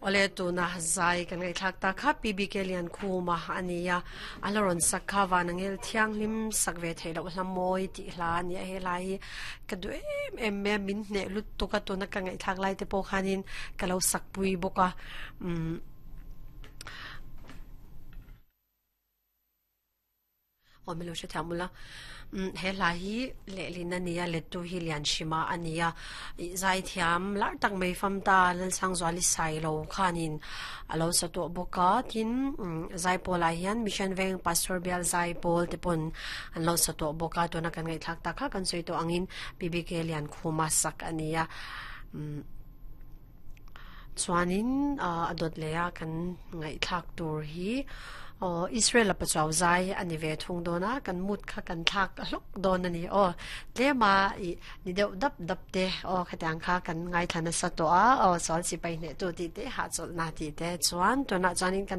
Awle tuna zai kan ngaihthlak ta kha PBK Liankhuma a ni a, a la rawn sak kha Vanangel Thianghlim sak ve theih loh hla mawi tih hla a ni a, he hla hi ka duh em em mai a, min hneh lutuk a tuna ka ngaihthlak lai te pawh khanin ka lo sak pui bawk a umm. Aw milo hre thiam ula umm he hla hi lehlin a ni a lettu hi Lianhrima a ni a ih zaithiam lar tak mai fam ta Lalsangzuali Sailo khanin a lo sa tawh bawk a tin umm zaipawl ah hian Mission Veng Pastor Bial Zaipawl te pawn an lo sa tawh bawk a tuna kan ngaihthlak tak kha kan sawi tawh angin PBK Liankhuma sak a ni a umm. Chuanin a dawt leh a kan ngaihthlak tur hi aw Israel a pachuau zai a ni ve thung dawn a kan mood kha kan thlak hlawk dawn a ni aw tlem a ih ni deuh dap dap te aw khatiang kha kan ngaithla nasa tawh a aw sual sipai hneh tu tih te hahchawlhna tih te chuan tunah chuanin kan.